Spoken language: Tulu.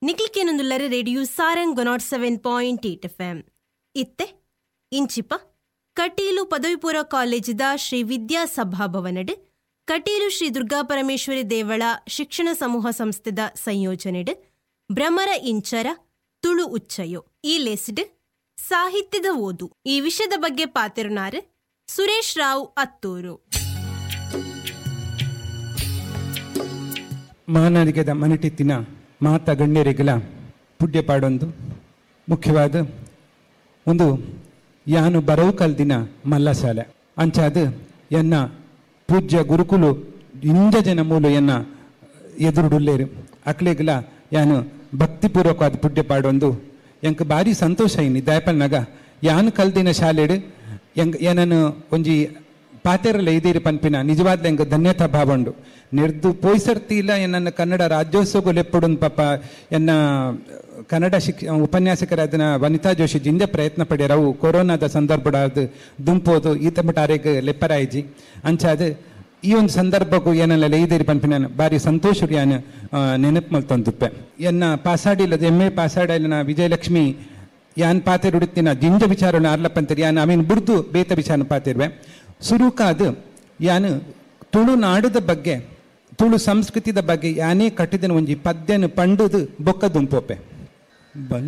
ನಿಕ್ಲಿಕೇನೊಂದುಲ್ಲರೆ radio Sarang 107.8 FM. ಇತ್ತೆ ಇಂಚಿಪ ಕಟೀಲು ಪದವಿಪೂರ್ವ ಕಾಲೇಜಿದ ಶ್ರೀ ವಿದ್ಯಾ ಸಭಾಭವನಡ್ ಕಟೀಲು ಶ್ರೀ ದುರ್ಗಾ ಪರಮೇಶ್ವರಿ ದೇವಳ ಶಿಕ್ಷಣ ಸಮೂಹ ಸಂಸ್ಥೆದ ಸಂಯೋಜನೆಡ್ ಭ್ರಮರ ಇಂಚರ ತುಳು ಉಚ್ಚಯೋ ಈ ಲೇಸ್ಡ್ ಸಾಹಿತ್ಯದ ಓದು ಈ ವಿಷಯದ ಬಗ್ಗೆ ಪಾತಿರುನಾರು ಸುರೇಶ್ ರಾವ್ ಅತ್ತೂರು. ಮಹಾನಾರಿಗೆದ ಮನಟಿತ್ತಿನ ಮಾತ ಗಣ್ಯರಿಗಲ ಪುಡ್ಯ ಪಾಡೊಂದು ಮುಖ್ಯವಾದ ಒಂದು ಯಾನು ಬರವು ಕಲ್ದಿನ ಮಲ್ಲಶಾಲೆ ಅಂಚಾದ ಎನ್ನ ಪೂಜ್ಯ ಗುರುಕುಲು ಇಂಜ ಜನ ಮೂಲು ಎನ್ನ ಎದುರುಡುಲ್ಲೇರು ಅಕ್ಲೆಗಲ ಯಾನು ಭಕ್ತಿಪೂರ್ವಕವಾದ ಪುಡ್ಯ ಪಾಡೊಂದು ಎಂಕ್ ಭಾರಿ ಸಂತೋಷ ಇನಿ ದಯಪಲ್ನಾಗ ಯಾನು ಕಲ್ದಿನ ಶಾಲೆಡು ಎಂಗ್ ಏನನ್ನು ಒಂಜಿ ಪಾತೆರಲ್ಲ ಇದೀರಿ ಪನ್ಪಿನ ನಿಜವಾದ ಎಂಕ್ ಧನ್ಯತಾ ಭಾವಂಡು ನಿರ್ದು ಪೋಯ್ಸರ್ತಿಲ್ಲ ಎನ್ನ ಕನ್ನಡ ರಾಜ್ಯೋತ್ಸವ ಲೆಪ್ಪುಡುನ್ ಪಾಪ ಎನ್ನ ಕನ್ನಡ ಉಪನ್ಯಾಸಕರಾದ ವನಿತಾ ಜೋಶಿ ಜಿಂಜ ಪ್ರಯತ್ನ ಪಡ್ಯಾರ. ಅವು ಕೊರೋನಾದ ಸಂದರ್ಭದ ದುಂಪೋದು ಈತ ಮಟ್ಟ ಲೆಪ್ಪರಾಯಿಜಿ ಅಂಚಾದ ಈ ಒಂದು ಸಂದರ್ಭಕ್ಕೂ ಏನೆಲ್ಲ ಇದೀರಿ ಪನ್ಪಿನ ಭಾರಿ ಸಂತೋಷ ಯಾನು ನೆನಪು ಮಲ್ತೊಂದುಪ್ಪೆ. ಎನ್ನ ಪಾಸಾಡಿಲ್ಲದ ಎಮ್ ಎ ಪಾಸಾಡಿಲ್ಲ ವಿಜಯಲಕ್ಷ್ಮಿ ಯಾನ್ ಪಾತೆರುಡುತ್ತಿನ ಜಿಂಜ ವಿಚಾರನ ಅರ್ಲಪ್ಪಂತರಿ ಯಾನ್ ಆಮೀನ್ ಬುಡ್ದು ಬೇತ ವಿಚಾರ ಪಾತಿರುವೆ. ಸುರುಕಾದ ಯಾನು ತುಳುನಾಡದ ಬಗ್ಗೆ ತುಳು ಸಂಸ್ಕೃತಿದ ಬಗ್ಗೆ ಯಾನೇ ಕಟ್ಟಿದನ ಒಂಜಿ ಪದ್ಯನ ಪಂಡುದು ಬೊಕ್ಕ ದುಂಪೋಪೆ. ಬಲ್